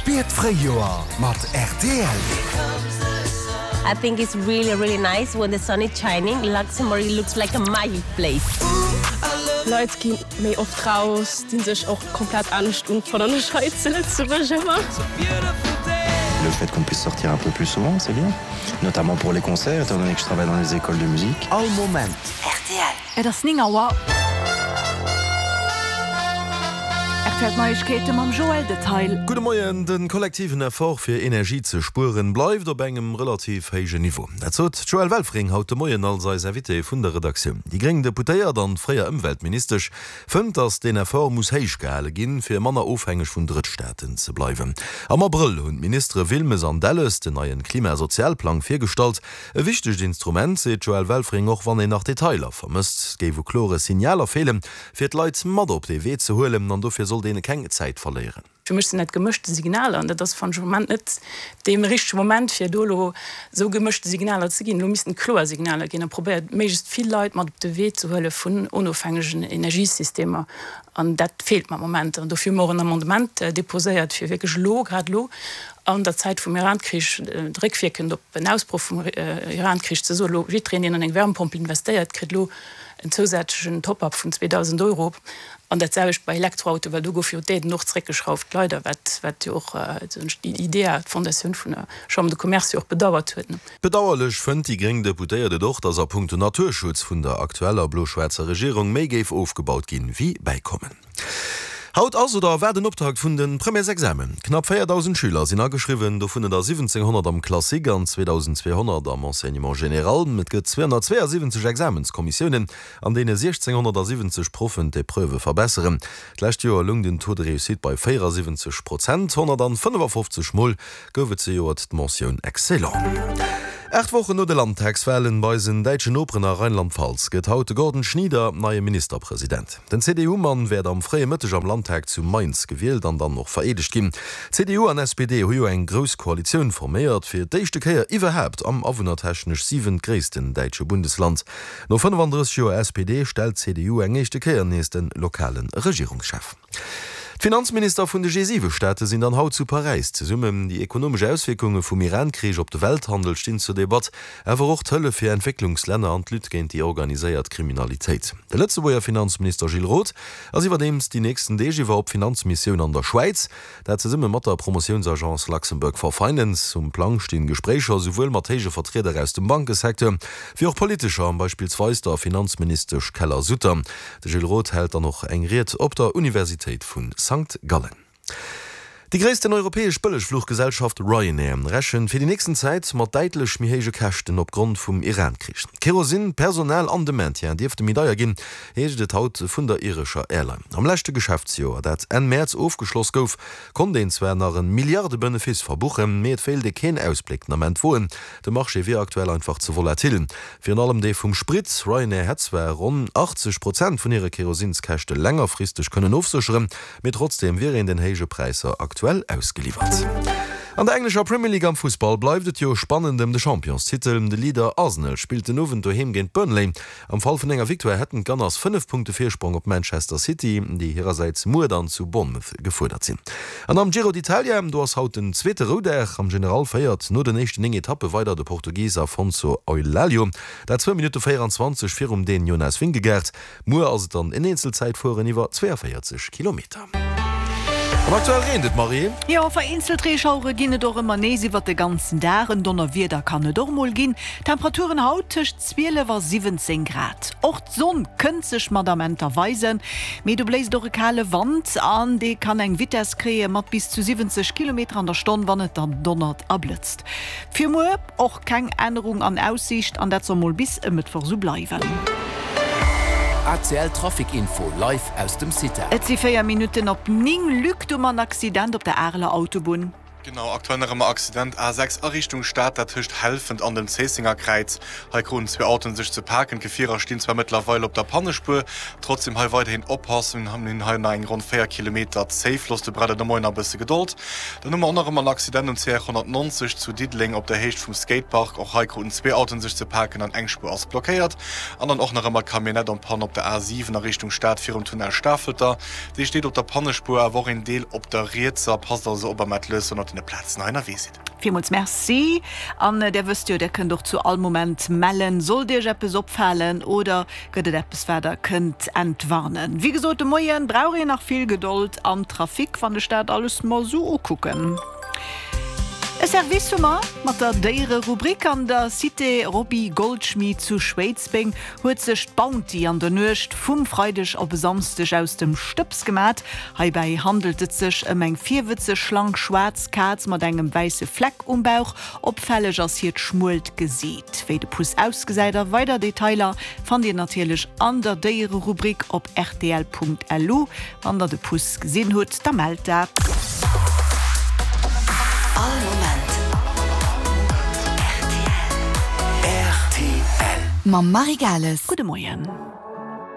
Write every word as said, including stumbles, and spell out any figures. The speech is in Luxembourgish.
Spier d'Fréijoer mat rtl. I think it's really really nice when the sun is shining, Luxembourg looks like a magic place. Leit gi méi oft raus, dinn sech och komplett anescht un, fannen ech hei zu Lëtzebuerg ëmmer. Le fait qu'on puisse sortir un peu plus souvent, c'est bien, notamment pour les concerts, étant donné que je travaille dans les écoles de musique. All Moment. Rtl. Et ass néng Auer. Rtl Neiegkeete mam Joël Detail. Gudde Moien, De kollektiven Effort fir Energie ze spueren bleift op engem relativ héijen Niveau. Dat sot d'Joëlle Welfring haut de Moien als eis Invitée vun der Redaktioun. Déi gréng Deputéiert an fréier Ëmweltministesch fënnt, datt deen Effort muss héich gehale ginn, fir manner ofhängeg vun Drëttstaaten ze bleiwen. Am Abrëll hunn d'Ministere Wilmes an Delles den neien Klimasozialplang virgestallt. E wichtegt Instrument, seet d'Joëlle Welfring, och wann een nach Detailer vermësst. Et géif u klore Signaler feelen, fir d'Leit mat op dee Wee ze huelen an dofir sollt een keng Zäit verléieren. Fir mech sinn dat gemëschte Signaler an dat ass, fannen ech, am Moment net dee richtege Moment, fir do elo esou gemëschte Signaler ze ginn. Elo missten kloer Signaler ginn a probéiert, méiglechst vill Leit mat op de Wee ze huele vun onofhängegen Energiesystemer. An dat feelt mer am Moment. An dofir hu mer och en Amendement deposéiert, fir wierklech elo, grad elo an der Zäit vum Iran-Krich, réckwierkend op en Ausbroch vum Iran-Krich, ze soen, elo jiddwereen, deen an eng Wärmepompel investéiert, kritt elo en zousätzlechen Top-up vun zweedausend Euro. An dat selwecht bei Elektroautoen, well do gouf jo d'Aiden och zeréckgeschrauft, leider, wat, wat jo och d'IDEA, d'Fondatioun vun der Chambre de Commerce, jo och bedauert huet. Bedauerlech fënnt déi gréng Deputéiert et och, datt a punkto Naturschutz vun der aktueller blo-schwaarzer Regierung méi géif ofgebaut ginn, wéi bäikommen. Haut ass oder war den Optakt vun de Premièresexamen. Knapp véierdausend Schüler sinn ageschriwwen, dovunner der siwwenzénghonnert am Classique an zweedausendzweehonnert am Enseignement général. Et gëtt zweehonnertzweeasiwwenzeg Examenskommissiounen, an deene siechzénghonnertasiwwenzeg Proffen d'Epreuvë verbesseren. D'lescht Joer loung den Taux de réussite bei véierasiwwenzeg Prozent. Honnertfënnefafofzeg Mol gouf et zejoert d'Mentioun Excellent. Aacht Wochen no de Landtagswalen bei eisen däitschen Noperen a Rheinland-Pfalz gëtt haut de Gordon Schnieder neie Ministerpresident. Den C D U-Mann wäert am fréie Mëtteg am Landtag zu Mainz gewielt an dann och vereedegt ginn. C D U an S P D hu jo eng grouss Koalitioun forméiert, fir d'éischte Kéier iwwerhaapt am awunnertechnesch siwentgréissten däitsche Bundesland. No fënnefandrësseg Joer S P D stellt d'C D U eng éischte Kéier nees de lokale Regierungschef. D'Finanzminister vun de G siwe Staate sinn dann haut zu Paräis zesummen. Déi ekonomesch Auswierkunge vum Iran-Krich op de Welthandel stinn zur Debatt, awer och d'Hëllef fir Entwécklungslänner an d'Lutte géint déi organiséiert Kriminalitéit. De Lëtzebuerger Finanzminister Gilles Roth ass iwwerdeems déi nächsten Deeg iwwer op Finanzmissioun an der Schwäiz, dat zesumme mat der Promotiounsagence Luxembourg for Finance. Um Plang stinn Gespréicher souwuel mat héije Vertrieder aus dem Bankesecteur, wéi och politescher, beispillsweis der Finanzministesch Keller-Sutter. De Gilles Roth hält dann och eng Ried op der Universitéit vu Sankt Gallen. Déi gréissten europäesch Bëllegfluchgesellschaft Ryanair rechent fir déi nächsten Zäit mat däitlech méi héije Käschten opgrond vum Iran-Krich. Kerosin, Personal an de Maintien dierfte méi deier ginn, heescht et haut vun der irescher Airline. Am leschte Geschäftsjoer, dat Enn Mäerz ofgeschloss gouf, konnt een zwar nach e Milliarde-Benefice verbuchen, mee et wéilt ee keen Ausbléck den Ament woen. De Marché wier aktuell einfach ze volatil. Virun allem dee vum Sprit. Ryanair hätt zwar ronn achtzeg Prozent vun hire Kerosinskäschte längerfristeg kënnen ofsécheren, mee trotzdeem wier een den héije Präisser aktuell ausgeliwwert. An der englescher Premier League am Fussball bleift et jo spannend ëm de Championstitel. De Leader Arsenal spillt den Owend doheem géint Burnley. Am Fall vun enger Victoire hätten d'Gunners fënnef Punkte Virsprong op Manchester City, déi hirersäits muer dann zu Bournemouth gefuerdert sinn. An am Giro d'Italia, do ass haut den zweete Roudag. Am General féiert no den éischten néng Etappe weider de Portugis Afonso Eulalio, dat zwou Minutte véieranzwanzeg virum Dän Jonas Vingegaard. Muer ass et dann en Eenzelzäitfueren iwwer zweeënvéierzeg Kilometer. An aktuell reent et, Marie. Jo, vereenzelt Reeschauere ginn et och ëmmer nees iwwert de ganzen Dag. En Donnerwieder kann et och mol ginn. Temperaturen haut tëscht zwielef a siwwenzéng Grad. Och d'Sonn kënnt sech mat Amenter weisen, mee do bléist och e kale Wand an dee kann eng Vitess kréie mat bis zu siwwenzeg Kilometer an der Stonn, wann et dann donnert a blëtzt. Fir muer och keng Ännerung an Aussiicht an dat soll mol bis e Mëttwoch sou bleiwen. A C L Trafic Info live aus dem CITA. Et si véier Minutten op néng. Luc, du mam Accident op der Areler Autobunn. Genau, aktuell nach ëmmer Accident A sechs a Richtung Stad, dat tëscht Helfent an dem Zéissenger Kräiz. Hei kruten zwee Autoen sech ze paken. D'Gefierer stinn zwar mëttlerweil op der Pannespuer, trotzdem hei weiderhin oppassen. Mir hunn hei nach eng ronn véier Kilometer Zéifloss, do braucht et de Moien nach e bësse Gedold. Dann hu mer och nach ëmmer en Accident um C R honnertnonzeg zu Diddeleng op der Héicht vum Skatepark. Och hei kruten zwee Autoen sech ze paken an eng Spuer ass blockéiert. An dann och nach ëmmer d'Camionnette en panne op der A siwen a Richtung Stad virum Tunnel Stafelter. Déi steet op der Pannespuer, awer och een Deel op der rietser. Passt also op a maacht lues, wann der op deene Plazen hei ënnerwee sidd. Villmools Merci. An där wësst jo, där kënnt och zu all Moment mellen, sollt iech eppes opfalen oder gëtt et eppes, wat der kënnt entwarnen. Wéi gesot, de Moien brauch een nach vill Gedold am Trafic, wann ech dat alles mer esou ukucken. E Service hu mer mat der Déiererubrik. An der Cité Roby Goldschmit zu Schwéidsbeng huet sech d'Bounty an der Nuecht vum Freideg op e Samsdeg aus dem Stëbs gemat. Heibäi handelt et sech ëm eng virwëtzeg, schlank, schwaarz Kaz mat engem wäisse Fleck um Bauch. Opfälleg ass hiert schmuelt Gesiit. Wéi de Puss ausgesäit a weider Detailer fannt Dir natierlech an der Déiererubrik op rtl.lu. Wann der de Puss gesinn hutt, da mellt dat. All Moment rtl. Mam Marie Gales. Gudde Moien.